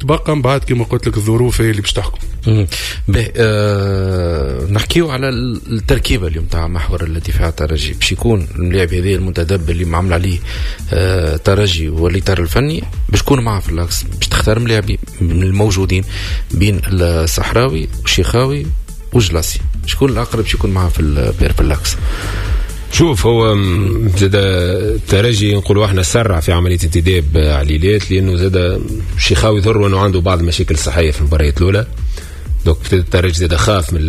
تبقى من بعد كما قلت لك الظروف هي اللي باش تحكم. باهي، نحكيو على التركيبة اليوم تاع محور الدفاع الترجي. باش يكون اللاعب هذا المنتدب اللي معمل عليه ترجي والاطار الفني باش يكون معاه في l'axe، باش تختار ملاعبي من الموجودين بين الصحراوي والشيخاوي وجلاسي، شكون الاقرب باش يكون معاه في ال paire في l'axe؟ شوف، هو زاد الترجي نقولوا احنا سرع في عملية انتداب عليلات، لانه زاد شيخاوي ظهر انه عنده بعض المشاكل الصحية في المباريات الاولى، donc الترجي زاد خاف من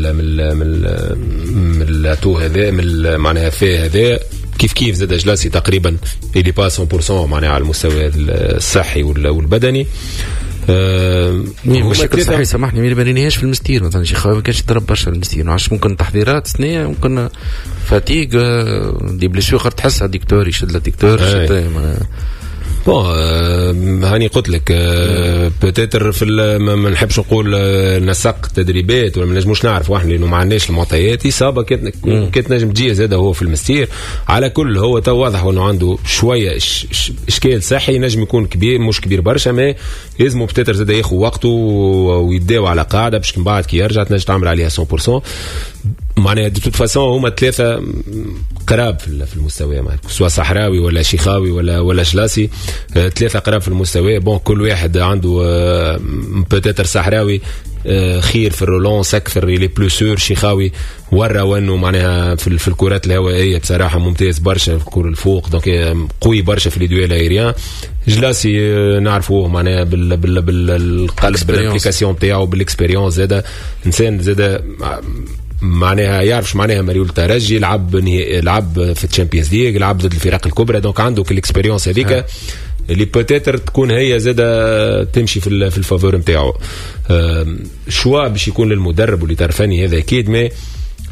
l'atout هذا، من معناها فيه هذا. كيف كيف زاد جلاسي تقريبا il est pas 100% معناها على المستوى الصحي والبدني. مشاكل صحيح، سامحني، ما ريناهاش في المستير مثلا. شيخاوي ما كانش يضرب برشا المستير، ما عرفتش، ممكن تحضيرات سنيه، ممكن fatigue، des blessures، تحس adducteur يشد l'adducteur. bon، هاني قلت لك peut-être في ما نحبش نقول نسق تدريبات ولا ما نجموش نعرفوا احنا لانه ما عندناش المعطيات. اصابه كانت نجم تجي زاد هو في المستير. على كل هو تو واضح انه عنده شوية اشكال صحي، نجم يكون كبير، مش كبير برشا، mais لازم peut-être زاد ياخذ وقته ويداو على قاعدة باش من بعد كي يرجع تنجم تعمل عليها 100%. معناها de toute façon هما ثلاثة قراب في المستوى، معناها سواء صحراوي ولا شيخاوي ولا جلاسي، ثلاثة قراب في المستوى. bon، كل واحد عنده peut-être صحراوي خير في ال relance اكثر، il est plus sûr. شيخاوي ورى وانه معناها في الكرات الهوائية بصراحة ممتاز برشا، في الكره الفوق، donc قوي برشا في les duels aériens. جلاسي نعرفوه معناها بالقلب، بال implication تاعو، بال expérience، زاد انسان زاد معناها يعرف معناها مريول ترجي، لعب في ال Champions League، لعب ضد الفرق الكبرى، donc عنده ال expérience هذيك اللي peut-être تكون هي زاده تمشي في ال faveur نتاعو. choix باش يكون للمدرب والاطار الفني هذا اكيد، mais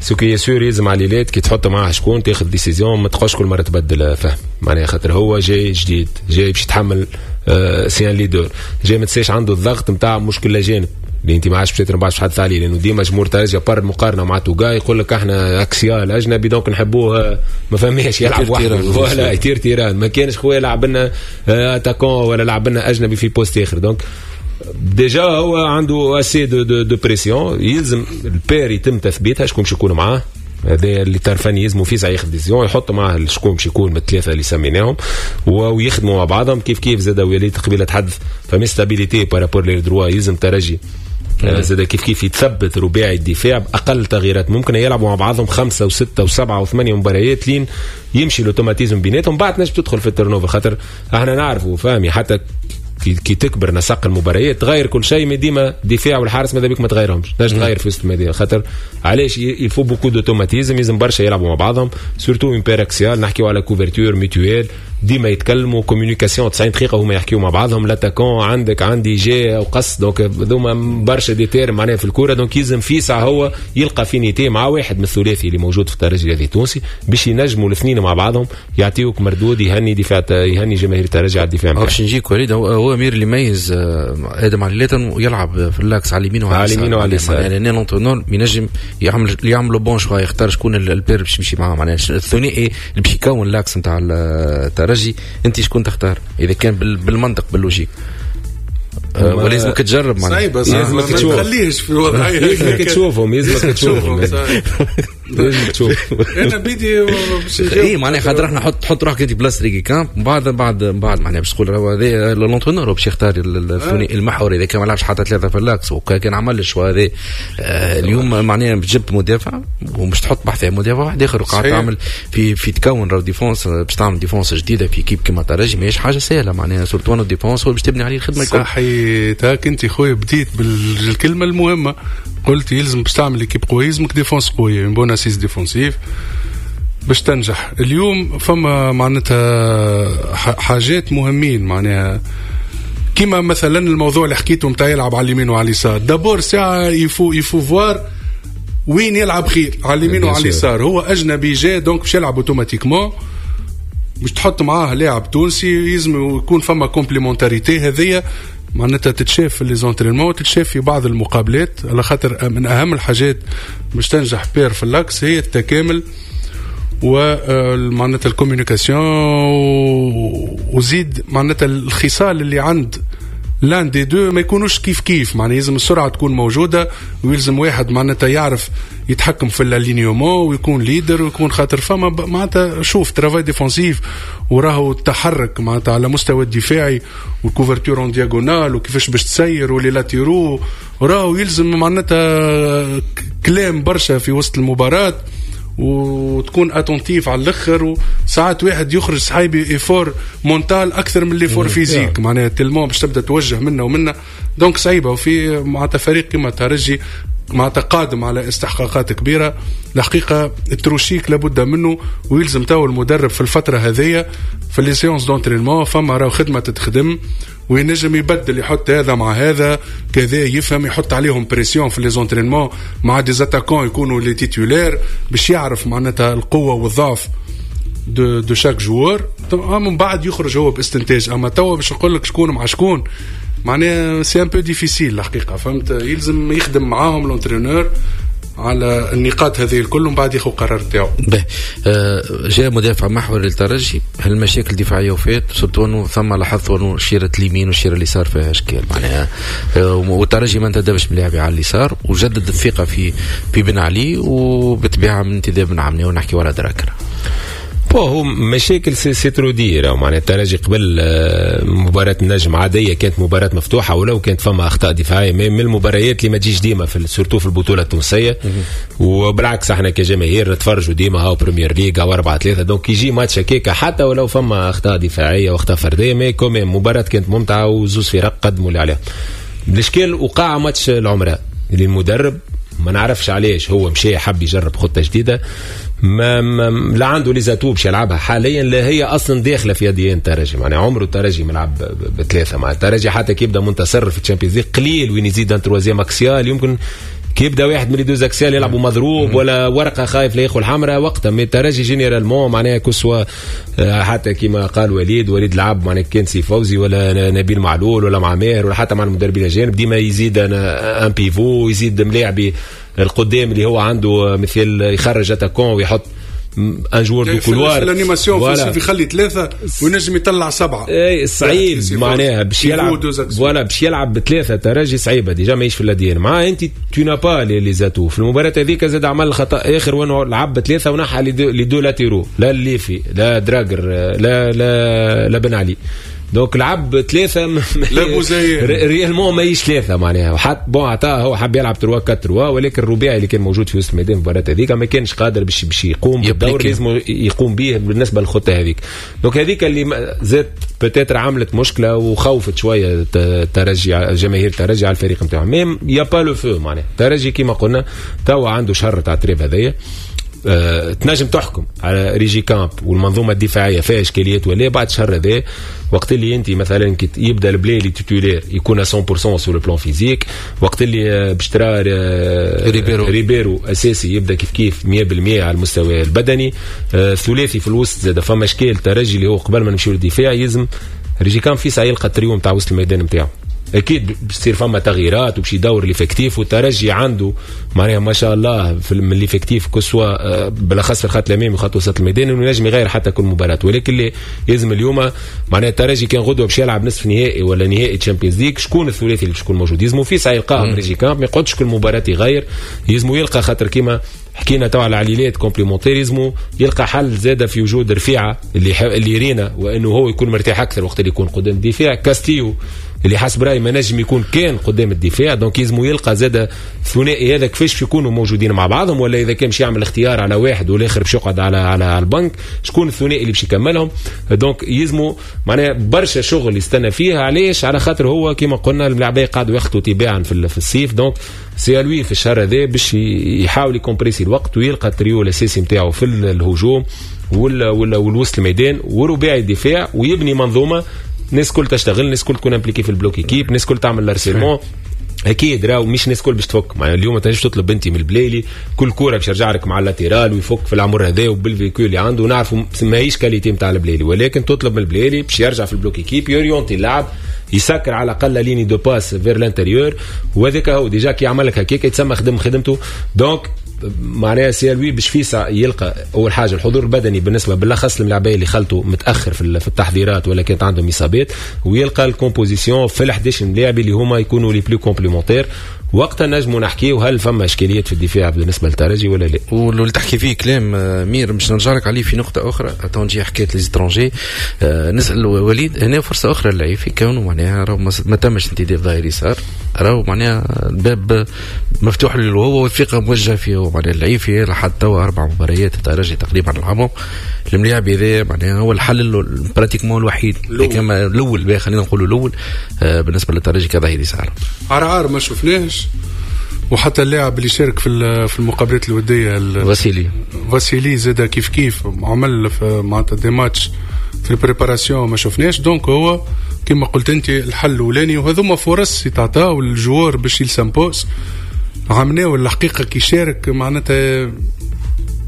ce qui est sûr يلزم عليلات كي تحط معاه شكون تاخذ décision، ما تبقاش كل مرة تبدل، فهم معناها، خاطر هو جاي جديد، جاي باش يتحمل، c'est un leader جاي، ما تنساش عنده الضغط نتاع مشكل الاجانب اللي انت ما عادش باش ما تحدث عليه، لانه ديما جمهور ترجي par المقارنة مع توغاي يقول لك احنا axial اجنبي donc نحبوه، ما فهميش يلعب وحده ولا يطير تيران، ما كانش خويا لعب لنا attaquant ولا لعب لنا اجنبي في poste اخر. donc déjà هو عنده assez de pression. يلزم ال paire يتم تثبيتها، شكون باش يكون معاه. هذا الاطار الفني يلزموا فيسع ياخذ décision، يحط معاه شكون باش يكون من الثلاثة اللي سميناهم ويخدموا مع بعضهم. كيف كيف زاد وليد قبيلة تحدث، فما stabilité par rapport l'ailier droit، يلزم ترجي زاد كيف كيف يتثبت رباعي الدفاع باقل تغييرات ممكن، يلعبوا مع بعضهم خمسة وستة وسبعة وثمانية مباريات لين يمشي l'automatisme بيناتهم، بعد نجم تدخل في ال turnover، خاطر احنا نعرفوا فهمي حتى كي تكبر نسق المباريات تغير كل شيء، mais ديما دفاع والحارس ماذا بيك ما تغيرهمش، تنجم تغير في وسط الميدان، خاطر علاش؟ il faut beaucoup d'automatismes، لازم برشا يلعبوا مع بعضهم، surtout une paire axiale. نحكيو على couverture mutuelle، ديما يتكلموا، communication 90 دقيقة هما يحكيو مع بعضهم، l'attaquant عندك عندي جاي وقص، donc هذوما برشا des termes معناها في الكوره. donc يلزم فيسع هو يلقى affinité مع واحد من الثلاثي اللي موجود في الترجي الرياضي التونسي باش ينجموا الاثنين مع بعضهم يعطيوك مردود يهني دفاع، يهني جماهير الترجي على الدفاع. باش نجيك وليد، هو امير اللي يميز ادم عليلات يلعب في l'axe على اليمين وعلى اليمين وعلى اليسار. يعني l'entraîneur ينجم يعمل bon choix، يختار شكون ال paire باش يمشي معاه، معناها الثنائي اللي باش يكون l'axe نتاع الترجي. انت شكون تختار اذا كان بالمنطق بال logique ولا لازمك تجرب؟ معناها صعيبه. لازمك تشوف، ما تخليش في وضعيه. لازمك تشوفهم، لازمك تشوفهم، لازمك تشوف. انا بيدي. اي معناها خاطر احنا حط روحك انت بلاصة ريغيكامب، من بعد معناها باش تقول هو هذا l'entraîneur باش يختار الثنائي المحوري اذا كان ما لعبش حتى ثلاثة في l'axe وكان عمل ال choix هذا. اليوم معناها جبت مدافع ومش تحط بحث مدافع واحد اخر وقاعد تعمل في تكون راهو défense، باش تعمل défense جديدة في équipe كيما ترجي ماهيش حاجة سهله، معناها surtout défense هو باش تبني عليه الخدمة الكل. صحيح، هاك انت خويا بديت بالكلمة المهمه، قلت يلزم باش تعمل équipe قوية يلزمك défense قويه، bonne assise défensive باش تنجح. اليوم فما معناتها حاجات مهمين، معناها كيما مثلا الموضوع اللي حكيته نتاع يلعب على اليمين وعلى اليسار. d'abord ساعة il faut voir وين يلعب خير، على اليمين وعلى اليسار. هو اجنبي جاي، donc باش يلعب automatiquement باش تحط معاه لاعب تونسي، يلزم يكون فما complémentarité. هذيا معناتها تتشاف في les entraînements، تتشاف في بعض المقابلات، على خاطر من اهم الحاجات باش تنجح paire في l'axe هي التكامل ومعناتها ال communication، وزيد معناتها الخصال اللي عند l'un des deux ما يكونوش كيف كيف، معناها يلزم السرعة تكون موجودة، ويلزم واحد معناتها يعرف يتحكم في l'alignement ويكون leader ويكون خاطر فما معناتها شوف travail défensif وراهو التحرك معناتها على مستوى الدفاعي وال couverture en diagonale وكيفاش باش تسير و les latéraux، راهو يلزم معناتها كلام برشا في وسط المباراة وتكون attentif على الاخر. وساعات واحد يخرج صحيبي effort mental اكثر من l'effort physique، معناها tellement باش تبدا توجه منا ومنا، donc صعيبه. وفي معناتها فريق كما الترجي معناتها قادم على استحقاقات كبيره، الحقيقة التروشيك لابد منه، ويلزم تو المدرب في الفترة هذيا في les séances d'entraînement فما راهو خدمة تتخدم، وينجم يبدل يحط هذا مع هذا كذا، يفهم يحط عليهم pression في les entraînements مع des attaquants يكونوا les titulaires باش يعرف معناتها القوة والضعف de chaque joueur، من بعد يخرج هو باستنتاج. اما توا باش نقول لك شكون مع شكون معناها c'est un peu difficile الحقيقه، فهمت؟ يلزم يخدم معاهم l'entraîneur على النقاط هذه الكل ومن بعد ياخذ قرار نتاعو. باهي، جاء مدافع محوري للترجي، هل المشاكل الدفاعية وفات؟ surtout انه ثم لاحظت انه شيرة اليمين والشيرة اليسار فيها اشكال معناها، والترجي ما انتدبش ملاعبي على اليسار وجدد الثقة في بن علي، وبالطبيعه من انتداب بن عمني ونحكي ولا دراكر. bon هو مشاكل c'est trop dire. معناها الترجي قبل مباراة النجم عادية كانت مباراة مفتوحة ولو كانت فما أخطاء دفاعية، من المباريات اللي ما تجيش ديما في surtout في البطولة التونسية. وبالعكس احنا كجماهير نتفرجوا ديما هاو Premier League او 4-3، donc يجي ماتش هكاك حتى ولو فما أخطاء دفاعية وأخطاء فردية، mais quand même مباراة كانت ممتعة وزوز فرق قدموا اللي عليهم. الإشكال وقع ماتش العمراء اللي المدرب ما نعرفش علاش هو مشى حب يجرب خطة جديدة ما لا عنده les atouts باش يلعبها حاليا، لا هي اصلا داخله في ADN الترجي. معناها عمره الترجي ملعب بثلاثه، مع الترجي حتى كي يبدا منتصر في ال Champions League قليل وين يزيد un troisième axial، يمكن كي يبدا واحد من les deux axial يلعبوا مضروب ولا ورقة خايف لا ياخذ الحمراء وقتها. mais الترجي généralement معناها que ce soit حتى كيما قال وليد، وليد لعب معناها كان سي فوزي ولا نبيل معلول ولا مع ماهر ولا حتى مع المدربين الاجانب، ديما يزيد un pivot، يزيد ملاعبي القدام اللي هو عنده مثل يخرج attaquant ويحط un joueur de couloir. في l'animation يخلي ثلاثة وينجم يطلع سبعه. اي صعيب معناها باش يلعب، voilà باش يلعب بثلاثة ترجي صعيبة déjà ماهيش في l'ADN، مع انت tu n'as pas les atouts. في المباراة هذيك زاد عمل خطا اخر وانه لعب بثلاثة ونحى les deux latéraux، لا الليفي لا دراجر لا لا لا بن علي، donc لعب ثلاثة. لا بوزيان. réellement ماهيش ثلاثة معناها، وحط bon عطاه هو حب يلعب 3 4 3، ولكن الرباعي اللي كان موجود في وسط الميدان المباراة هذيك ما كانش قادر باش يقوم بالدور اللي لازم يقوم به بالنسبة للخطه هذيك. donc هذيك اللي زاد peut-être عملت مشكلة وخوفت شوية الترجي، جماهير الترجي على الفريق نتاعهم. mais y a pas le feu، معناها الترجي كيما قلنا توا عنده شهر تاع trêve هذايا، تنجم تحكم على ريجيكامب والمنظومه الدفاعية فيها اشكاليات ولا بعد شهر هذا، وقت اللي انت مثلا كي يبدا البلايلي titulaire يكون 100% sur le plan physique، وقت اللي باش ترى ريبيرو. ريبيرو اساسي يبدا كيف كيف 100% على المستوى البدني، ثلاثي في الوسط زاد فما اشكال ترجي اللي هو قبل ما نمشيو للدفاع يلزم ريجيكامب في ساعة يلقى التريو نتاع وسط الميدان نتاعو. اكيد باش تصير فما تغييرات وباش يدور l'effectif، والترجي عنده معناها ما شاء الله في من l'effectif que ce soit بالاخص في الخط الامامي وخط وسط الميدان انه ينجم يغير حتى كل مباراه، ولكن اللي لازم اليوم معناها الترجي كان غدوه باش يلعب نصف نهائي ولا نهائي Champions League، شكون الثلاثي اللي باش يكون موجود؟ يلزمو في ساعة يلقاهم ريجيكامب، ما يقعدش كل مباراة يغير، يلزمو يلقى خاطر كيما حكينا تو على عليلات complémentaires، يلزمو يلقى حل زاده في وجود رفيعة اللي رينا وانه هو يكون مرتاح اكثر وقت اللي يكون قدام الدفاع، كاستيو اللي حسب رايي ما نجم يكون كان قدام الدفاع. donc يلزمو يلقى زاد الثنائي هذا كيفاش يكونوا موجودين مع بعضهم، ولا اذا كان باش يعمل اختيار على واحد والاخر باش يقعد على البنك، شكون الثنائي اللي باش يكملهم؟ donc يلزمو معناها برشا شغل يستنى فيه. علاش؟ على خاطر هو كما قلنا الملاعبيه قاعدوا ياخذوا تباعا في الصيف، donc c'est à lui في الشهر هذا باش يحاول ي compresser الوقت ويلقى التريو الاساسي نتاعو في الهجوم ولا والوسط الميدان ورباعي الدفاع، ويبني منظومة الناس كل تشتغل، الناس كل تكون impliquée في ال bloc équipe، الناس كل تعمل l'harcèlement. اكيد راهو مش الناس كل باش تفك، معناها اليوم ما تنجمش تطلب انت من البلايلي كل كورة باش يرجع لك مع ال latéral ويفك في العمر هذا وبال vécu اللي عنده، نعرفوا ماهيش qualité نتاع البلايلي، ولكن تطلب من البلايلي باش يرجع في ال bloc équipe، ي orienter اللعب، يسكر على الاقل ligne de passe vers l'intérieur، وهذاك هو déjà كي يعمل لك هكاك يتسمى خدم خدمته. donc معناها c'est à lui باش فيسع يلقى اول حاجة الحضور البدني بالنسبة بالاخص للملاعبيه اللي خلطوا متاخر في التحضيرات ولا كانت عندهم اصابات، ويلقى ال composition في ال 11 ملاعب اللي هما يكونوا les plus complémentaires. وقتها نجموا نحكيو هل فما اشكاليات في الدفاع بالنسبة للترجي ولا لا. واللي تحكي فيه كلام مير باش نرجع لك عليه في نقطة اخرى، تو نجي حكاية les étrangers. نسال وليد هنا فرصة اخرى للعيفي كونه معناها راهو ما تمش انتداب ظهير يسار، راهو معناها الباب مفتوح له هو والثقة موجهة فيه هو. معناها العيفي لحد توا 4 مباريات الترجي تقريبا لعبهم، الملاعب هذا معناها هو الحل pratiquement الوحيد الاول، خلينا نقولوا الاول بالنسبة للترجي كظهير يسار. عرعار ما شفناهش، وحتى اللاعب اللي شارك في المقابلات الودية فاسيلي زاد كيف كيف عمل معناتها des matchs في ال préparation ما شفناش. donc هو كما قلت انت الحل الاولاني، وهذوما فرص يتعطاو لل joueur باش il s'impose. عملناه الحقيقة كي شارك معناتها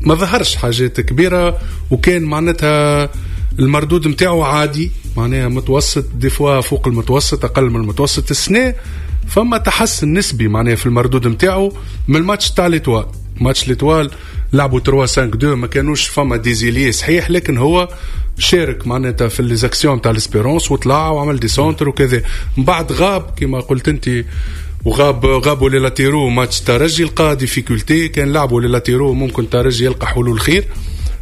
ما ظهرش حاجات كبيرة، وكان معناتها المردود نتاعو عادي، معناها متوسط، des fois فوق المتوسط، اقل من المتوسط. السنة فما تحسن نسبي معناها في المردود نتاعو من الماتش تاع l'Étoile. match l'Étoile لعبوا 3-5-2، ما كانوش فما des ailiers صحيح، لكن هو شارك معناتها في les actions تاع l'Espérance وطلع وعمل des centres وكذا. من بعد غاب كما قلت انت، وغاب غابوا les latéraux match ترجي لقى difficulté، كان لعبوا les latéraux ممكن ترجي يلقى حلول خير،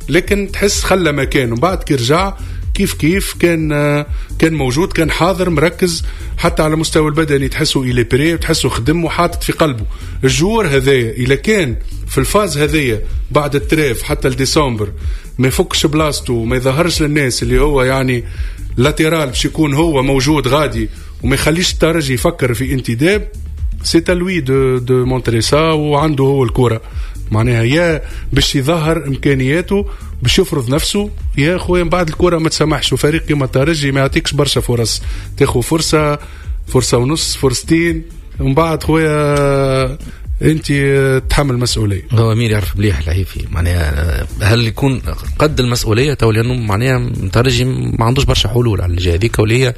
لكن تحس خلى مكانه. من بعد كي رجع كيف كيف كان موجود، كان حاضر مركز، حتى على مستوى البدني تحسه il est prêt وتحسه خدم وحاطط في قلبه. ال joueur هذايا اذا كان في ال phase هذايا بعد ال trêve حتى لديسمبر ما يفكش بلاصته وما يظهرش للناس اللي هو يعني latéral باش يكون هو موجود غادي وما يخليش الترجي يفكر في انتداب، c'est à lui de montrer ça. وعنده هو الكره معناها يا باش يظهر امكانياته باش يفرض نفسه، يا خويا من بعد الكره ما تسمحش. وفريق كيما الترجي ما يعطيكش برشا فرص، تاخذ فرصة، فرصة ونص، فرصتين، ومن بعد خويا انت تحمل مسؤولية. هو امير يعرف مليح العيفي، معناها هل يكون قد المسؤولية تو؟ لانه معناها الترجي ما عندوش برشا حلول على الجهة هذيك، واللي هي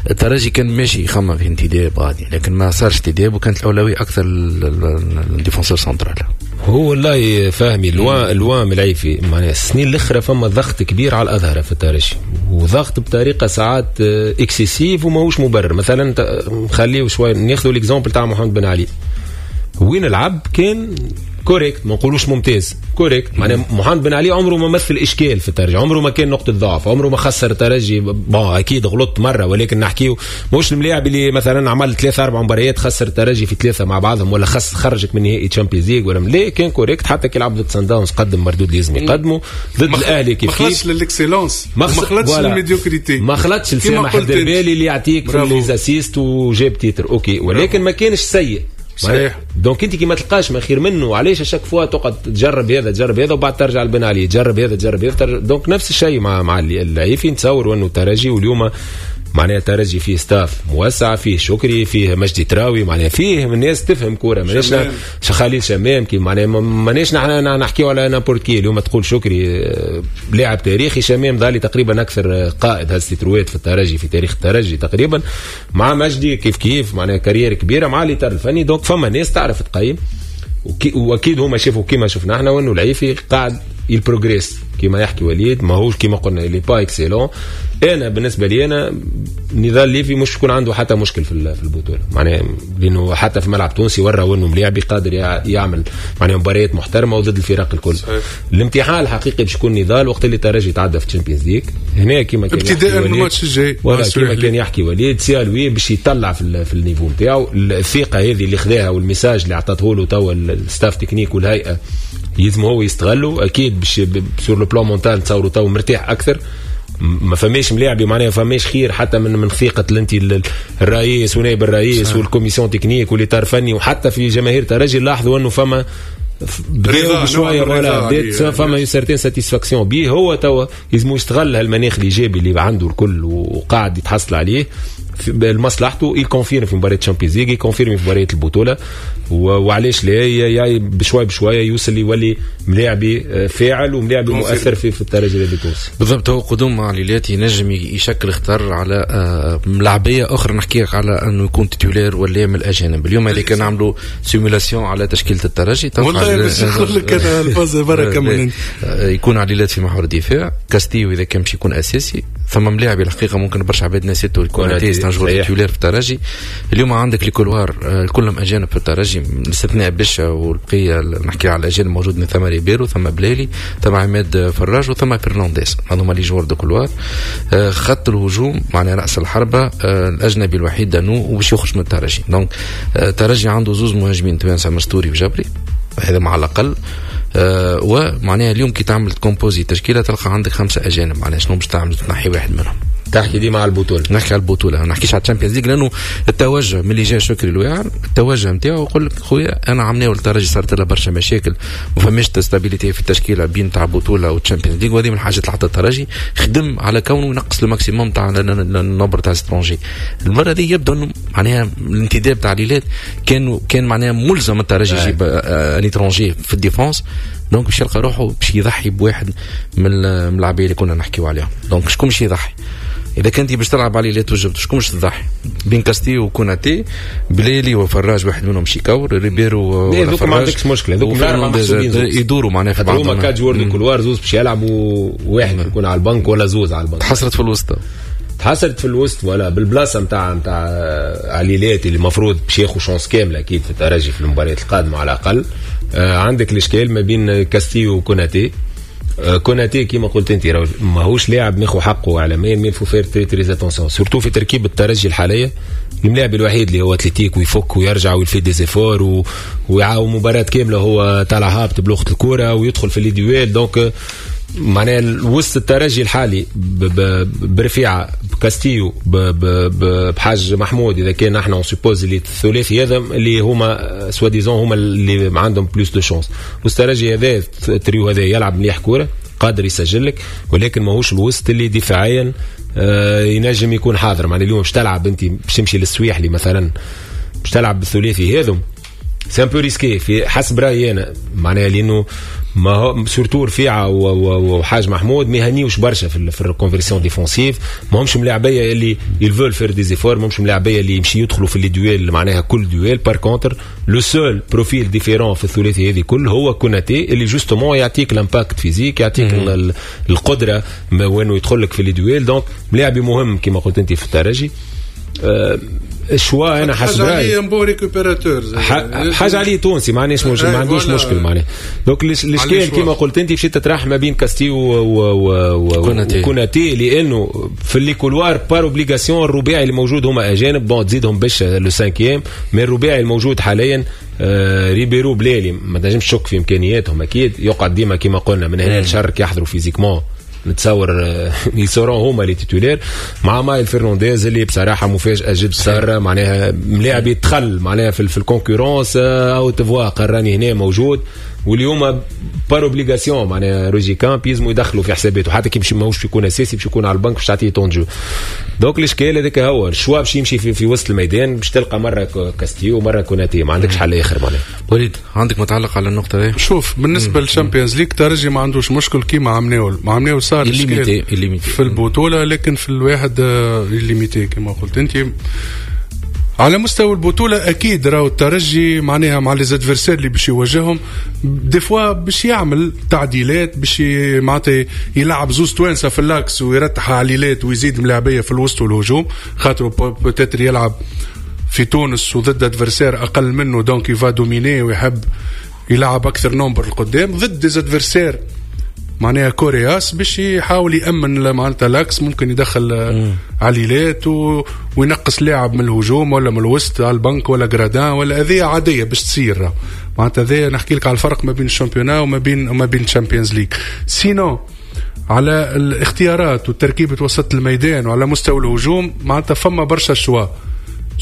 الترجي كان ماشي يخمم في انتداب غادي، لكن ما صارش انتداب، وكانت الاولوية اكثر لل défenseur central. هو والله فهمي loin loin من العيفي، معناها السنين الاخرى فما ضغط كبير على الاظهرة في الترجي، وضغط بطريقة ساعات excessive وماهوش مبرر. مثلا نخليه شوية ناخذوا l'exemple تاع محمد بن علي، وين لعب كان correct، ما نقولوش ممتاز، correct. معناها محمد بن علي عمره ما مثل اشكال في الترجي، عمره ما كان نقطة ضعف، عمره ما خسر الترجي. bon اكيد غلط مرة، ولكن نحكيو مش الملاعب اللي مثلا عمل 3 4 مباريات خسر الترجي في 3 مع بعضهم، ولا خس خرجك من نهائي Champions League ولا لا، كان correct. حتى كي لعب ضد سان داونز قدم مردود لازم يقدمه، ضد الاهلي كيف كيف. ما خلطش لل excellence، ما خلطش لل médiocrité، ما خلطش لسامح الدربالي اللي يعطيك في les assists وجاب titre OK، ولكن ما كانش سيء. صحيح. donc انت كي ما تلقاش ما خير منه، علاش à chaque fois تقعد تجرب هذا تجرب هذا وبعد ترجع لبن علي، تجرب هذا تجرب هذا. donc نفس الشيء مع العيفي، نتصور انه الترجي واليوم معناها الترجي فيه staff موسع، فيه شكري، فيه مجدي تراوي، معناها فيه من الناس تفهم كورة، ماناش خليل شمام كي معناها ماناش نحن نحكيو على n'importe qui. اليوم تقول شكري لاعب تاريخي، شمام ظالي تقريبا اكثر قائد هز تيتروات في الترجي في تاريخ الترجي تقريبا، مع مجدي كيف كيف معناها carrière كبيرة مع الاطار الفني. donc فما ناس تعرف تقيم، واكيد هما شافوا كيما شفنا احنا وانه العيفي قاعد il progresse كيما يحكي وليد، ماهوش كيما قلنا il est pas excellent. انا بالنسبة لي انا نضال ليفي مش يكون عنده حتى مشكل في البطولة، معناها لانه حتى في ملعب تونسي ورى انه ملاعبي قادر يعمل معناها مباريات محترمه وضد الفرق الكل. صحيح. الامتحان الحقيقي باش يكون نضال وقت اللي الترجي يتعدى في ال Champions League هنا كيما كان ابتداء من الماتش الجاي، كيما كان يحكي وليد c'est à lui باش يطلع في ال niveau نتاعو. الثقة هذه اللي خذاها وال message اللي عطاته له توا ال staff technique والهيئة يلزم هو يستغلوا اكيد باش sur le plan mental نتصوروا تو مرتاح اكثر. ما فماش ملاعبي معناها ما فماش خير حتى من ثقة انت الرئيس ونائب الرئيس وال commission technique والاطار الفني، وحتى في جماهير ترجي لاحظوا انه فما بداو بشوية ولا بدات فما certaine satisfaction بيه. هو توا لازم يستغل هالمناخ الايجابي اللي عنده الكل وقاعد يتحصل عليه. لمصلحته، il confirme في مباراة Champions League، il confirme في مباراة البطوله، وعلاش لا بشوي بشوية يوصل يولي ملاعبي فاعل وملاعبي مؤثر في الترجي التونسي. بالضبط، هو قدوم عليلات ينجم يشكل خطر على ملاعبيه اخرى، نحكي لك على انه يكون titulaire ولا من الاجانب. اليوم هذيك نعملوا simulation على تشكيله الترجي، والله باش نقول لك انا الفاز بركة من يكون عليلات في محور الدفاع، كاستيو اذا كان باش يكون اساسي، ثم ملاعب الحقيقة ممكن برشا عباد نسيتو الكوناتي c'est un joueur titulaire في الترجي. اليوم عندك les couloirs كلهم اجانب في الترجي باستثناء بشا والبقية، نحكي على الاجانب موجود من ثم ريبيرو، ثم بلالي، ثم عماد فراج، وثم فرنانديز، هذوما les joueurs de couloir. خط الهجوم معناها راس الحربة الاجنبي الوحيد دانو وباش يخرج من الترجي. donc الترجي عنده زوز مهاجمين توانسة، مستوري وجبري، هذا مع الاقل. ومعناها اليوم كي تعمل composer تشكيله تلقى عندك 5 اجانب، معناها شنو باش تعمل؟ تنحي واحد منهم. تحكي ديما على البطولة، نحكي على البطولة، ما نحكيش على ال Champions League، لانه التوجه من اللي جا شكري الواعر التوجه نتاعو يقول لك خويا انا عمناو الترجي صارت لها برشا مشاكل، ما فماش stabilité في التشكيلة بين تاع البطولة وال Champions League، وهذه من الحاجات اللي حتى الترجي خدم على كونه ينقص ال maximum تاع ال nombre تاع étrangers. المرة دي يبدو انه معناها الانتداب تاع عليلات كان معناها ملزم الترجي يجيب un étranger في ال défense، donc باش يلقى روحه باش يضحي بواحد من اللاعبين اللي كنا نحكيو عليهم. donc شكون باش يضحي؟ اذا كنت باش تلعب عليه لا توجبت، شكون باش تضحي؟ بين كاستيو وكوناتي، بليلي وفراج واحد منهم شيكاور، ريبيرو ولا فراج، ما عندكش مشكلة، هذوك يدوروا معناها في بعضهم، هما quatre joueurs de couloir، زوز باش يلعبوا، واحد يكون على البنك ولا زوز على البنك. تحصرت في الوسط، تحصرت في الوسط ولا بالبلاصه نتاع عليلات اللي المفروض باش ياخذ chance كاملة اكيد في الترجي في المباريات القادمة على الاقل. عندك الاشكال ما بين كاستيو وكوناتي. كوناتي كيما قلت انت ماهوش لاعب ماخو حقه اعلاميا، mais faut faire très très attention surtout في تركيب الترجي الحالية. الملاعب الوحيد اللي هو athlétique ويفك ويرجع وي fait des efforts ويعاون مباراة كاملة هو طالع هابط بلغه الكره ويدخل في les duels. donc معناها وسط الترجي الحالي برفيعه بكاستيو بحاج محمود، اذا كان احنا on suppose اللي الثلاثي هذا اللي هما soi-disant هما اللي عندهم plus de chances. وسط الترجي هذا التريو هذا يلعب مليح كورة، قادر يسجل لك، ولكن ماهوش الوسط اللي دفاعيا ينجم يكون حاضر. معناها اليوم باش تلعب انت باش تمشي للسويحلي مثلا باش تلعب بالثلاثي هذم c'est un peu risqué في حسب رايي انا، معناها لانه ما هو surtout رفيعة وحاج محمود ما يهنيوش برشا في ال reconversion défensive، ما همش ملاعبيه اللي ils veulent faire des efforts، ما همش ملاعبيه اللي يمشي يدخلوا في les duels معناها كل duel. par contre le seul profil différent في الثلاثي هذه كل هو كوناتي اللي justement يعطيك l'impact physique، يعطيك القدرة وانه يدخل لك في les duels. donc ملاعبي مهم كما قلت انت في الترجي. ال choix انا حسب رايي حاجة عليه récupérateur، حاجة عليه تونسي ما عنديش مشكل، ما عندوش مشكل معناها. donc الاشكال كيما قلت انت مشيت تطرح ما بين كاستيو وكوناتي، لانه في les couloirs par obligation الرباعي اللي موجود هما اجانب، bon تزيدهم باش le cinquième، mais الرباعي الموجود حاليا ريبيرو بلالي ما تنجمش تشك في امكانياتهم اكيد، يقعد ديما كيما قلنا من هنا لشهر يحضروا physiquement نتصور ils seront هما les titulaires مع مايل فرنانديز اللي بصراحة مفاجاة جد ساره، معناها ملاعب يدخل معناها في ال concurrence او تفوا قراني هنا موجود، واليوم par obligation معناها روجي كامب يلزموا يدخلوا في حساباته، حتى كي ماهوش يكون اساسي باش يكون على البنك باش تعطيه temps de jeu. donc الاشكال هذاك هو ال choix باش يمشي في وسط الميدان، باش تلقى مرة كاستيو ومرة كوناتي، ما عندكش حل اخر معناها. وليد عندك متعلق على النقطة دي؟ شوف بالنسبة لل Champions League ترجي ما عندوش مشكل كيما عمناول، ما عمناول صار في البطولة، لكن في الواحد limité كما قلت انت. على مستوى البطولة أكيد راهو الترجي معناها مع les adversaires اللي باش يواجههم des fois باش يعمل تعديلات، باش معناتها يلعب زوز توانسة في l'axe ويرتح عليلات ويزيد ملاعبية في الوسط والهجوم، خاطر peut-être يلعب في تونس وضد adversaire أقل منه، donc il va dominer ويحب يلعب أكثر nombre القدام ضد des adversaires معناها coriaces باش يحاول يأمن معناتها l'axe، ممكن يدخل عليلات وينقص لاعب من الهجوم ولا من الوسط على البنك ولا جرادان ولا هذه عادية باش تصير. معناتها هذا نحكي لك على الفرق ما بين ال championnat وما بين ال Champions League. sinon على الاختيارات وتركيبة وسط الميدان وعلى مستوى الهجوم معناتها فما برشا choix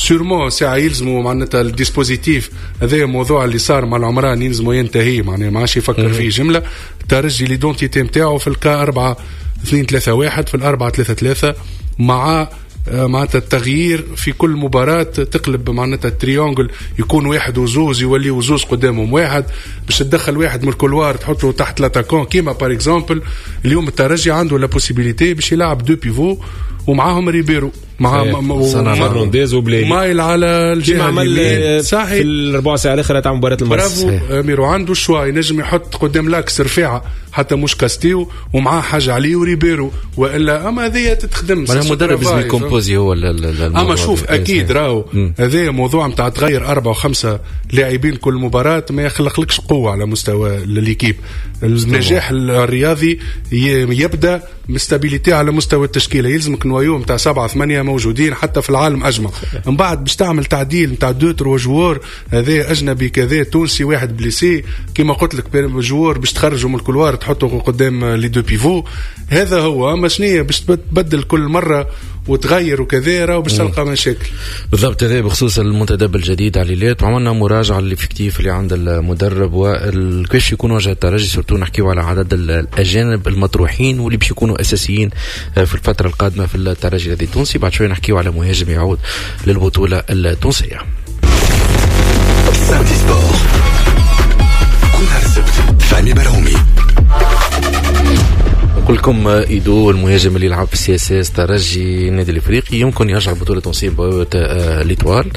sûrement ساعة يلزموا معناتها ال dispositif هذا موضوع اللي صار مع العمران يلزموا ينتهي، معناها ما عادش يفكر فيه جملة. الترجي l'identité نتاعو في الكا 4-2-3-1 في 4-3-3 مع معناتها التغيير في كل مباراة، تقلب معناتها ال triangle يكون واحد وزوز يولي وزوز قدامهم واحد، باش تدخل واحد من ال couloir تحطه تحت l'attaquant. كيما par exemple اليوم الترجي عنده la possibilité باش يلعب deux pivots ومعاهم ريبيرو مع فرنانديز وبلايلي مايل على الجهة اليمين صحيح في الربع ساعة الاخرى تاع مباراة المرس. برافو امير، عنده choix ينجم يحط قدام l'axe رفيعة حتى مش كاستيو ومعاه حاجة عليه وريبيرو والا، اما هذه تتخدم معناها المدرب لازم ي composer هو. اما شوف اكيد راهو هذا موضوع نتاع تغير 4 و5 لاعبين كل مباراة ما يخلقلكش قوة على مستوى l'équipe. النجاح الرياضي يبدا م stabilité على مستوى التشكيلة، يلزمك noyau نتاع 7 8 موجودين حتى في العالم اجمع. من بعد باش تعمل تعديل نتاع 2 3 joueurs، هذا اجنبي كذا تونسي واحد blessé كيما قلت لك joueur باش تخرجوا من ال couloir تحطه قدام les deux pivots. هذا هو. اما شنية باش تبدل كل مرة وتغير وكذا راهو باش تلقى مشاكل. بالضبط. هذا بخصوص المنتدب الجديد عليلات، وعملنا مراجعه لل effectif اللي عند المدرب وكيفاش يكون وجه الترجي، surtout نحكيو على عدد الاجانب المطروحين واللي باش يكونوا اساسيين في الفترة القادمة في الترجي التونسي. بعد شوي نحكيو على مهاجم يعود للبطولة التونسية. فهمي برهومي. نقول لكم ايدو المهاجم اللي يلعب في CSS ترجي النادي الافريقي يمكن يرجع البطولة التونسية بوابه l'Étoile.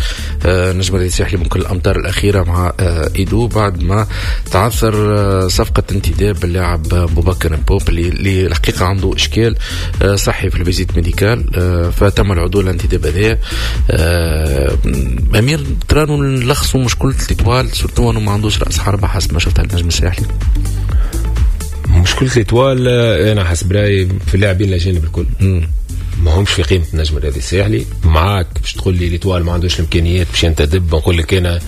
نجم الساحلي ممكن الامتار الاخيرة مع ايدو بعد ما تعثر صفقة انتداب اللاعب بوبكر بوب اللي الحقيقة عنده اشكال صحي في ال visite médicale، فتم العدول الانتداب هذا. امير ترانو نلخصوا مشكلة l'Étoile surtout انه ما عندوش راس حربه حسب ما شفتها النجم الساحلي. مشكلة l'Étoile أنا حسب رأيي في اللاعبين الأجانب الكل ما همش في قيمة النجم الرياضي الساحلي. معاك باش تقول لي l'Étoile ما عندوش الإمكانيات باش ينتدب، نقول لك أنا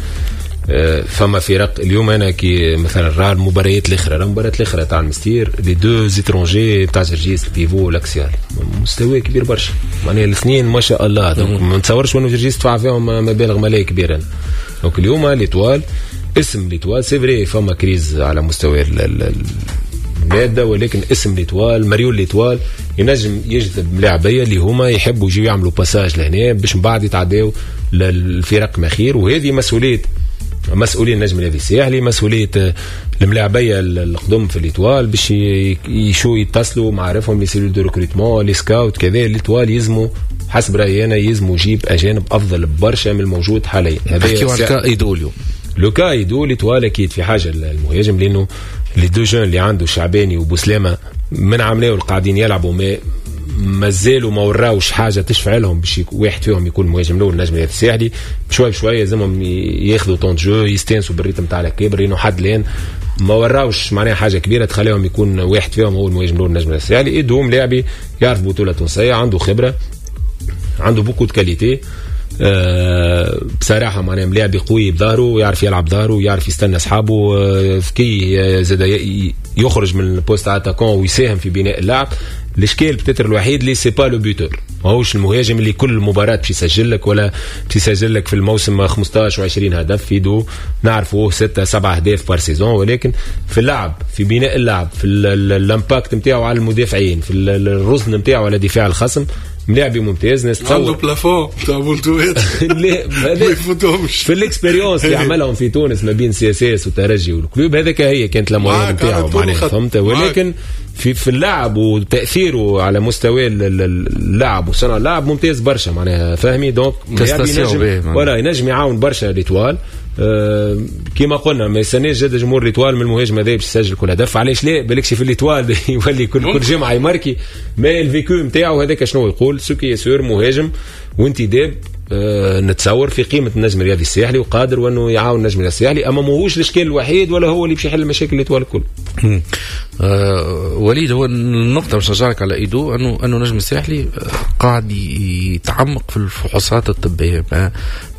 فما فرق اليوم. أنا كي مثلا راه المباريات الأخرى، راه المباريات الأخرى تاع المستير les deux étrangers تاع جرجيس ال pivot وال axial مستوى كبير برشا، معناها الاثنين ما شاء الله. donc ما نتصورش انه جرجيس دفع فيهم مبالغ مالية كبيرة. donc اليوم l'Étoile اسم l'Étoile c'est vrai فما crise على مستوى المادة، ولكن اسم l'Étoile مريول l'Étoile ينجم يجذب ملاعبيه اللي هما يحبوا يجيو يعملوا passage لهنا باش من بعد يتعداو للفرق مخير. وهذه مسؤولية مسؤولين النجم الرياضي الساحلي، مسؤولية الملاعبيه القدم في l'Étoile باش يشو يتصلوا معارفهم les cellules de recrutement les scouts كذا. l'Étoile يلزموا حسب رايي انا يلزموا يجيب اجانب افضل برشا من الموجود حاليا. هذا نحكيو على cas ايدو اليوم. le cas ايدو l'Étoile اكيد في حاجة المهاجم، لانه les deux jeunes اللي عنده شعباني وبوسلامه من عملاو قاعدين يلعبوا مازالوا ما وراوش حاجة تشفع لهم باش واحد فيهم يكون مهاجم الاول النجم الساحلي. بشوي بشوي لازمهم ياخذوا temps de jeu يستانسوا بال rythme تاع الكبر، لانه حد الان ما وراوش معناها حاجة كبيرة تخليهم يكون واحد فيهم هو المهاجم الاول النجم الساحلي. ايدهم لاعبي يعرف بطوله تونسية، عنده خبره، عنده beaucoup de qualités. بصراحة معناها ملاعب قوي بظهره ويعرف يلعب بظهره ويعرف يستنى اصحابه، ذكي زاد يخرج من ال poste attaquant ويساهم في بناء اللعب. الاشكال peut-être الوحيد اللي c'est pas le buteur، ماهوش المهاجم اللي كل مباراة باش يسجل لك ولا باش يسجل لك في الموسم 15 و20 هدف. ايدو نعرفوه 6 7 اهداف par saison، ولكن في اللعب، في بناء اللعب، في ال impact نتاعو على المدافعين، في الرزن نتاعو على دفاع الخصم، ملاعبي ممتاز. ناس تصور عنده plafond تاع بونتوات ما يفوتهمش في ال expérience اللي عملهم في تونس ما بين CSS والترجي وال Club، هذاك هي كانت la moyenne نتاعو معناها فهمت. ولكن في اللعب وتاثيره على مستوى اللعب وصنع اللعب ممتاز برشا معناها فهمي. donc ولا ينجم يعاون برشا l'Étoile. كيما قلنا ما يستناش جد جمهور l'Étoile من المهاجم هذا باش يسجل كل هدف. علاش لا؟ بالكش في l'Étoile يولي كل جمعه يماركي، mais ال vécu نتاعو هذاك شنو يقول ce qui est sûr مهاجم وانتداب نتصور في قيمة النجم الرياضي الساحلي وقادر وانه يعاون النجم الرياضي الساحلي، اما ماهوش الاشكال الوحيد ولا هو اللي باش يحل مشاكل l'Étoile الكل. وليد، هو النقطة باش نرجع على ايدو انه النجم الساحلي قاعد يتعمق في الفحوصات الطبية،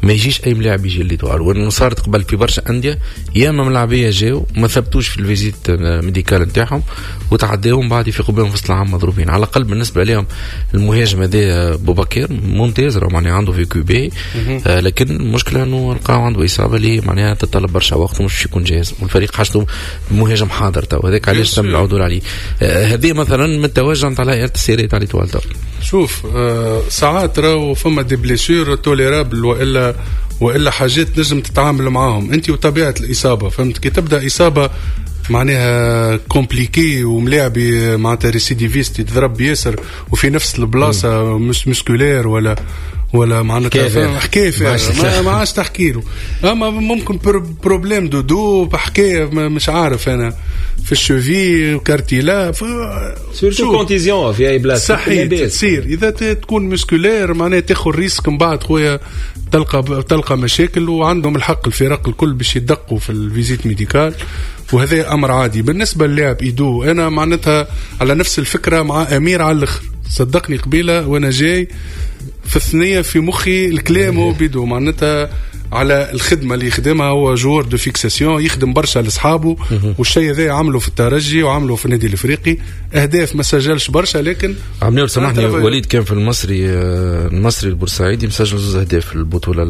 ما يجيش اي ملاعب يجي l'Étoile، وانه صارت قبل في برشا اندية ياما ملاعبيه جاو ما ثبتوش في ال visite médicale نتاعهم وتعداهم بعد يفيقوا بهم في وسط العام مضروبين. على الاقل بالنسبة لهم المهاجم هذا بوبكر ممتاز، راه معناها عنده vécu باهي، لكن المشكلة انه لقاو عنده اصابه اللي معناها تتطلب برشا وقت ومش يكون جاهز، والفريق حاجته مهاجم حاضر تو. هذاك علاش تم العدول عليه. هذه مثلا من التوجه نتاع الهيئة التسييريه تاع l'Étoile. شوف ساعات راهو فما des blessures tolérables والا حاجات نجم تتعامل معاهم انت وطبيعه الاصابة، فهمت؟ كي تبدا اصابه معناها compliquée وملاعبي معناتها récidiviste يتضرب ياسر وفي نفس البلاصة مش musculaire ولا معناتها حكاية ما عادش تحكي له، اما ممكن problème de dos، حكاية مش عارف انا في ال cheville cartilage surtout contusion في اي بلاصة صحيح تصير اذا تكون musculaire معناها تاخذ risque من بعد خويا تلقى مشاكل، وعندهم الحق الفرق الكل باش يدقوا في ال visite médicale وهذا امر عادي. بالنسبة للاعب ايدو انا معناتها على نفس الفكرة مع امير على الاخر، صدقني قبيلة وانا جاي في الثنية في مخي الكلام هو بيدو معناتها على الخدمة اللي يخدمها، هو joueur de fixation يخدم برشا لاصحابه، والشيء هذا عمله في الترجي وعمله في النادي الافريقي، اهداف ما سجلش برشا لكن عملوا. سامحني وليد، كان في المصري البورسعيدي مسجل 2 اهداف في البطولة.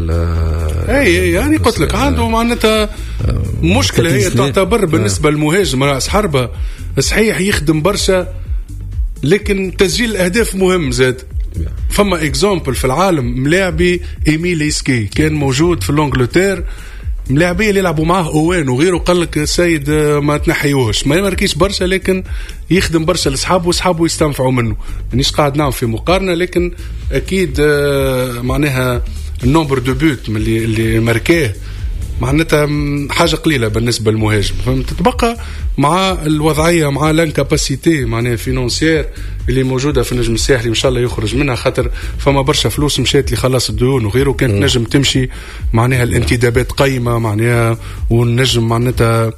اي يعني قلت لك عنده معناتها مشكلة هي تعتبر بالنسبة للمهاجم راس حربه صحيح يخدم برشا لكن تسجيل الاهداف مهم زاد. فما exemple في العالم ملاعبي ايميل ايسكي كان موجود في l'Angleterre، ملاعبيه اللي يلعبوا معاه اوان وغيره قال لك السيد ما تنحيوهش، ما يماركيش برشا لكن يخدم برشا لاصحابه واصحابه يستنفعوا منه. مانيش قاعد نعمل في مقارنة لكن اكيد معناها ال nombre de buts اللي ماركاه معناتها حاجة قليله بالنسبة للمهاجم، فهمت؟ تتبقى مع الوضعية مع l'incapacité معناها financière اللي موجودة في النجم الساحلي، ان شاء الله يخرج منها خاطر فما برشا فلوس مشات لخلاص الديون وغيره، كانت نجم تمشي معناها الانتدابات قيمة معناها، والنجم معناتها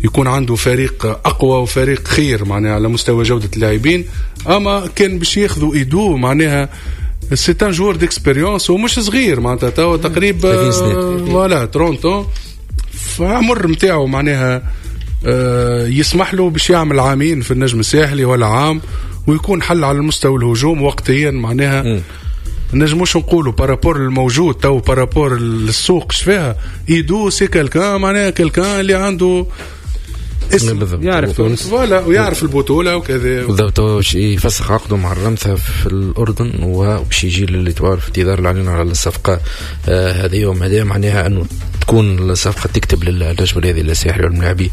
يكون عنده فريق اقوى وفريق خير معناها على مستوى جوده اللاعبين. اما كان باش ياخذوا ايدو معناها c'est un joueur d'expérience ومش صغير معناتها توا تقريبا voilà 30 فعمر نتاعو معناها يسمح له باش يعمل عامين في النجم الساحلي ولا عام ويكون حل على المستوى الهجوم وقتيا معناها. نجموش نقولوا par rapport الموجود تو par rapport للسوق فيها ايدو c'est quelqu'un معناها quelqu'un اللي عنده اسم يعرف تونس voilà ويعرف البطولة وكذا بالضبط. يفسخ عقده مع الرمثه في الاردن وباش يجي لل Étoile في انتظار الاعلان على الصفقة هذه، وهذا معناها انه تكون الصفقة تكتب للنجم الرياضي الساحلي والملاعبي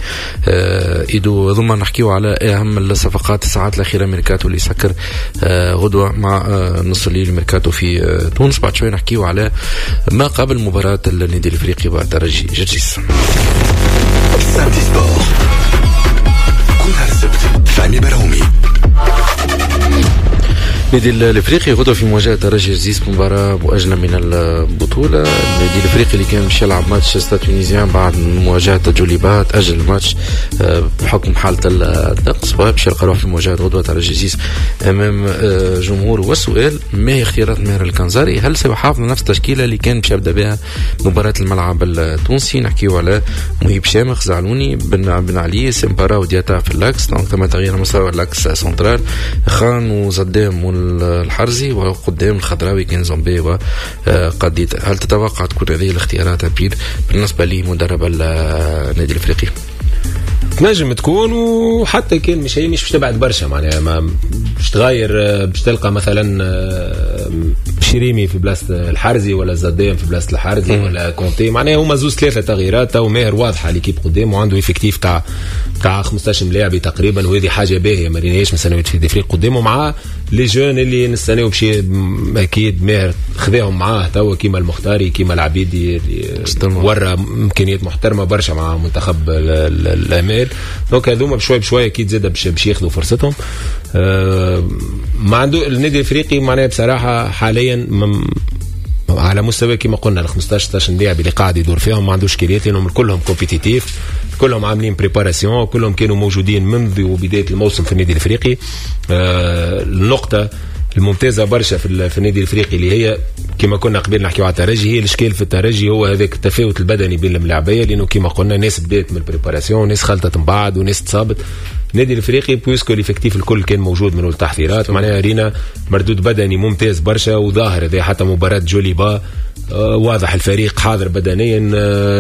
ايدو. ثم نحكيو على اهم الصفقات الساعات الاخيرة، ميركاتو اللي سكر غدوه مع نص الليل ميركاتو في تونس. بعد شوي نحكيو على ما قبل مباراة النادي الافريقي والترجي جرجيس. فهمي برهومي. النادي الافريقي غدوه في مواجهة ترجي جرجيس مباراة مؤجلة من البطولة. النادي الافريقي اللي كان باش يلعب ماتش Stade Tunisien بعد مواجهة جوليبا تاجل الماتش بحكم حاله الطقس، وباش يلقى روحه في مواجهة غدوه ترجي جرجيس امام جمهور. والسؤال ما هي اختيارات ماهر الكنزاري؟ هل سيحافظ على نفس التشكيلة اللي كان باش يبدا بها مباراة الملعب التونسي؟ نحكيو على مهيب شامخ، زعلوني، بن علي، سمبارا ودياتا في l'axe، donc ثم تغيير مستوى l'axe central، خان وزدام الحرزي، وقدام الخضراوي كان زومبي وقديد. هل تتوقع تكون هذه الاختيارات أبيل بالنسبة لمدرب النادي الافريقي؟ تنجم تكون، وحتى كان مش هي مش باش تبعد برشا معناها، ما باش تغير، باش تلقى مثلا شريمي في بلاصة الحرزي ولا زدام في بلاصة الحرزي ولا كونتي، معناها هما زوز ثلاثة تغييرات. تو ماهر واضحة l'équipe قدام وعنده effectif تاع 15 ملاعبي تقريبا، وهذه حاجة باهيه ما ريناهاش من سنوات في الافريق قدامه مع les jeunes اللي نستناو باش اكيد ماهر خذاهم معاه توا كيما المختاري كيما العبيدي اللي ورا امكانيات محترمه برشا مع منتخب الامال. donc هذوما بشوي بشوي اكيد زاد باش ياخذوا فرصتهم. ما عنده النادي الافريقي معناها بصراحة حاليا على مستوى كما قلنا ال 15 16 لاعب اللي قاعد يدور فيهم ما عندوش كريات، لانهم كلهم compétitifs، كلهم عاملين préparation، كلهم كانوا موجودين منذ بداية الموسم في النادي الافريقي. النقطة الممتازة برشا في النادي الافريقي اللي هي كما كنا قبل نحكيو على الترجي، هي الاشكال في الترجي هو هذاك التفاوت البدني بين الملاعبيه، لانه كما قلنا ناس بدات من ال préparation وناس خلطت من بعد وناس تصابت. النادي الافريقي puisque l'effectif الكل كان موجود من التحضيرات، معناها رينا مردود بدني ممتاز برشا وظاهر هذا حتى مباراة جوليبا واضح الفريق حاضر بدنيا.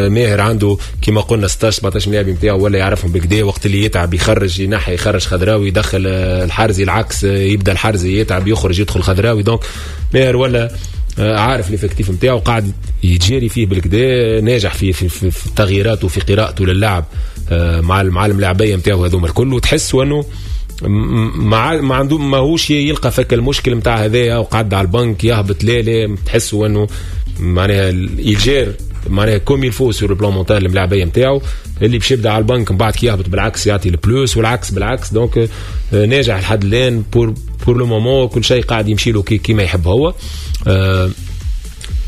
ماهر عنده كما قلنا 16 17 لاعب نتاعو ولا يعرفهم بالكدا، وقت اللي يتعب يخرج ينحي، يخرج خضراوي يدخل الحارزي، العكس يبدا الحارزي يتعب يخرج يدخل خضراوي. donc ماهر ولا عارف l'effectif نتاعو قاعد يجاري فيه بالكدا، ناجح في في, في, في تغييراته وفي قراءته للعب مع الملاعبيه نتاعو هذوما الكل، وتحس انه ما عنده ماهوش يلقى فك المشكل نتاع هذايا وقعد على البنك يهبط، لا لا، تحسوا انه معناها il gère معناها comme il faut sur le plan mental الملاعبيه نتاعو، اللي باش يبدا على البنك من بعد كي يهبط بالعكس يعطي ال plus والعكس بالعكس. donc ناجح لحد الان pour le moment، كل شيء قاعد يمشي له كيما يحب هو.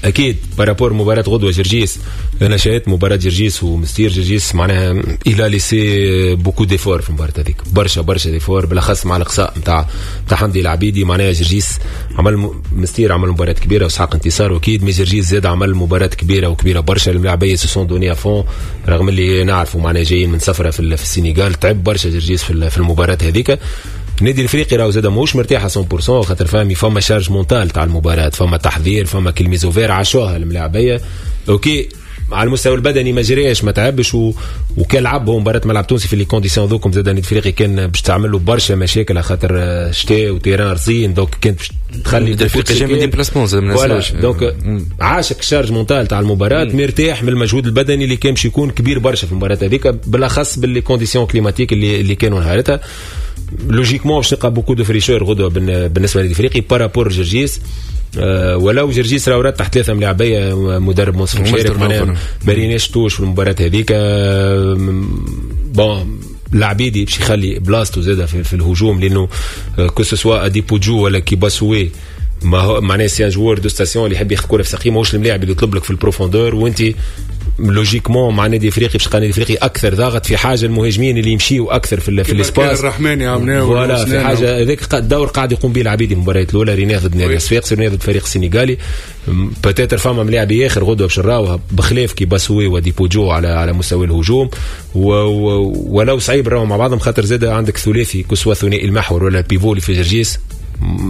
اكيد par rapport مباراة غدوه جرجيس، انا شاهدت مباراة جرجيس ومستير. جرجيس معناها il a laissé beaucoup d'efforts في المباراة هذيك، برشا برشا d'efforts، بالاخص مع الاقصاء نتاع حمدي العبيدي. معناها جرجيس عمل، مستير عمل مباراة كبيرة وسحق انتصار واكيد، mais جرجيس زاد عمل مباراة كبيرة وكبيره برشا. الملاعبيه se sont donnés à fond، رغم اللي نعرفوا معناها جايين من سفره في السنغال، تعب برشا جرجيس في المباراة هذيك. النادي الافريقي راهو زاد ماهوش مرتاح 100%، خاطر فهمي فما charge mentale تاع المباراة، فما تحضير، فما كل mise au vert عاشوها الملاعبيه. OK على المستوى البدني ما جريش ما تعبش وكان لعب هو مباراة ملعب تونسي في les conditions ذوكم، زاد النادي الافريقي كان باش تعمل له برشا مشاكل خاطر شتاء و terrain رزين، donc كانت باش تخلي الافريقي جاي من déplacement زاد ما donc عاشك charge mentale تاع المباراة، مرتاح من المجهود البدني اللي كان باش يكون كبير برشا في المباراة هذيك، بالاخص بال les conditions climatiques اللي كانوا نهارتها. logiquement باش تلقى beaucoup de fraîcheur غدوه بالنسبة للنادي الافريقي par rapport جرجيس. ولو جرجيس راهو رتح ثلاثة ملاعبيه مدرب منصف مشارك، معناها ما ريناش touche في المباراة هذيك. bon العبيدي باش يخلي بلاصتو زاده في الهجوم، لانه que ce soit اديبوجو ولا كيباسوي ما هو معناها c'est un joueur de station اللي يحب ياخذ كره في ساقيه، ماهوش الملاعب اللي يطلب لك في ال profondeur. وانت logiquement مع النادي الافريقي باش النادي الافريقي اكثر ضاغط في حاجة المهاجمين اللي يمشيوا اكثر في l'espace. الرحماني عملناه voilà في حاجة هذاك الدور قاعد يقوم به العبيدي في المباريات الاولى، ريناه ضد نادي الصفاقسي، ريناه ضد الفريق السنغالي. peut-être فما ملاعب اخر غدوه باش نراوها بخلاف كيباسوي وديبوجو على مستوى الهجوم، ولو صعيب راهو مع بعضهم، خاطر زاد عندك ثلاثي que ce soit ثنائي المحور ولا ال pivot اللي في جرجيس،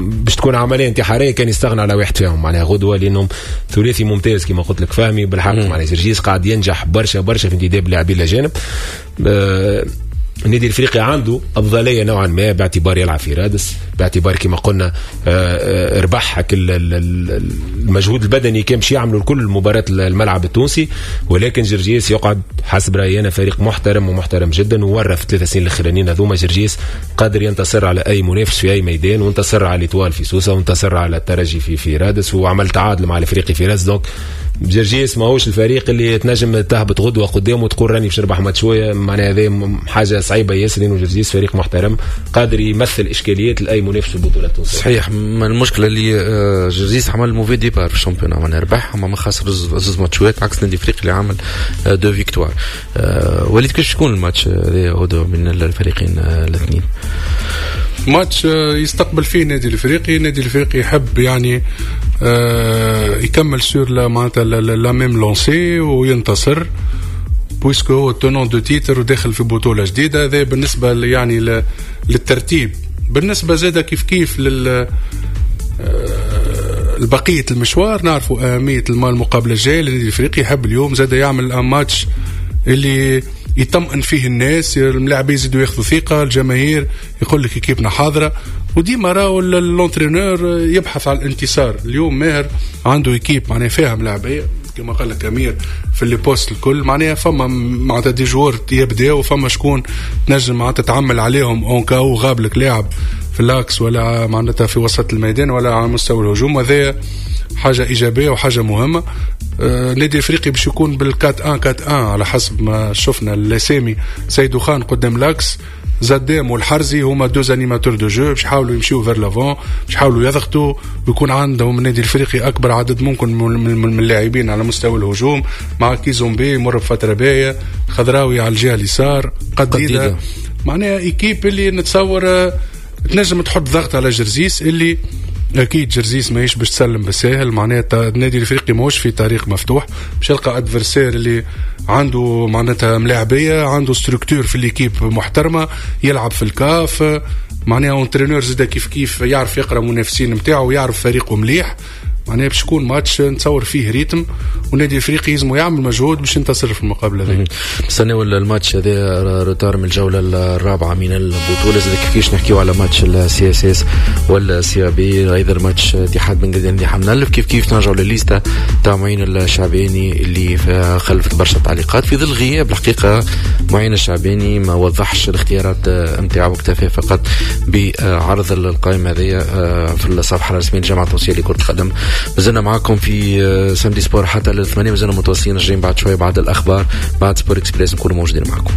باش تكون عملية انتحارية كان يستغنى على واحد فيهم معناها غدوه، لانهم ثلاثي ممتاز كما قلت لك فهمي بالحق. معناها جرجيس قاعد ينجح برشا برشا في انتداب اللاعبين الاجانب. النادي الافريقي عنده افضلية نوعا ما باعتبار يلعب في رادس، باعتبار كما قلنا ربح المجهود البدني كان باش يعملوا الكل مباراة الملعب التونسي. ولكن جرجيس يقعد حسب رايي انا فريق محترم ومحترم جدا، وورى في 3 سنين الاخرانيين هذوما جرجيس قادر ينتصر على اي منافس في اي ميدان، وانتصر على l'Étoile في سوسه، وانتصر على الترجي في رادس، وعمل تعادل مع الافريقي في رادس. donc جرجيس ماهوش الفريق اللي تنجم تهبط غدوه قدامه وتقول راني باش نربح ماتش شويه، معناها هذا حاجة صعيبة ياسر، لانه جرجيس فريق محترم قادر يمثل اشكاليات لاي منافس في البطولة التونسية. صحيح، المشكلة اللي جرجيس عمل mauvais départ في ال championnat، معناها ربح ما خسر زوز ماتشات، عكس النادي الافريقي اللي عمل deux victoires. وليد، كيفاش يكون الماتش هذا غدوه من الفريقين الاثنين؟ ماتش يستقبل فيه النادي الافريقي، النادي الافريقي يحب يعني يكمل sur la معناتها la même lancée وينتصر، puisque هو tenant du titre وداخل في بطوله جديده. هذا بالنسبة يعني للترتيب، بالنسبة زاده كيف كيف لل البقية المشوار، نعرفوا اهمية المقابلة الجاية. النادي الافريقي يحب اليوم زاد يعمل ماتش اللي يطمئن فيه الناس، الملاعبين يزيدوا ياخذوا ثقه، الجماهير يقول لك équipe نا حاضره. وديما راهو l'entraîneur يبحث على الانتصار. اليوم ماهر عنده équipe معناها فيها ملاعبيه كما قال لك امير في les postes الكل، معناها فما معناتها des joueurs يبداو وفما شكون تنجم معناتها تعمل عليهم en cas où غاب لك لاعب في l'axe ولا معناتها في وسط الميدان ولا على مستوى الهجوم، وهذا حاجة ايجابية وحاجه مهمه. النادي الافريقي باش يكون بال 4 1 4 1 على حسب ما شفنا الاسامي، سيدو خان قدام l'axe، زدام والحرزي هما deux animateurs de jeu باش يحاولوا يمشيو vers l'avant، باش يحاولوا يضغطوا ويكون عندهم النادي الافريقي اكبر عدد ممكن من اللاعبين على مستوى الهجوم، مع كيزومبي يمر بفترة باهيه، خضراوي على الجهة اليسار، قديده، معناها équipe اللي نتصور تنجم تحط ضغط على جرزيس اللي اكيد جرزيس ماهيش باش تسلم بالساهل، معناتها النادي الافريقي ماهوش في طريق مفتوح، باش يلقى adversaire اللي عنده معناتها ملاعبيه، عنده structure في l'équipe محترمه، يلعب في الكاف، معناها entraîneur زاد كيف كيف يعرف يقرا منافسين نتاعو ويعرف فريقه مليح. معناها باش يكون ماتش نتصور فيه rythme، والنادي الافريقي يلزم يعمل مجهود باش ينتصر في المقابلة هذه. نستناو الماتش هذا retard من الجولة الرابعة من البطوله. زاد كيفاش نحكيو على ماتش ال CSS وال CAB، ايضا ماتش اتحاد بن قردان حمنلف. كيف كيف نرجعوا للل liste تاع معين الشعباني اللي خلفت برشا تعليقات في ظل غياب الحقيقه. معين الشعباني ما وضحش الاختيارات نتاعو، اكتفى فقط بعرض القائمة هذه في الصفحة الرسمية للجامعة التونسية لكرة القدم. مازلنا معاكم في samedi sport حتى لل8، مازلنا متواصلين، راجعين بعد شوية بعد الاخبار، بعد Sport Express نكونوا موجودين معكم.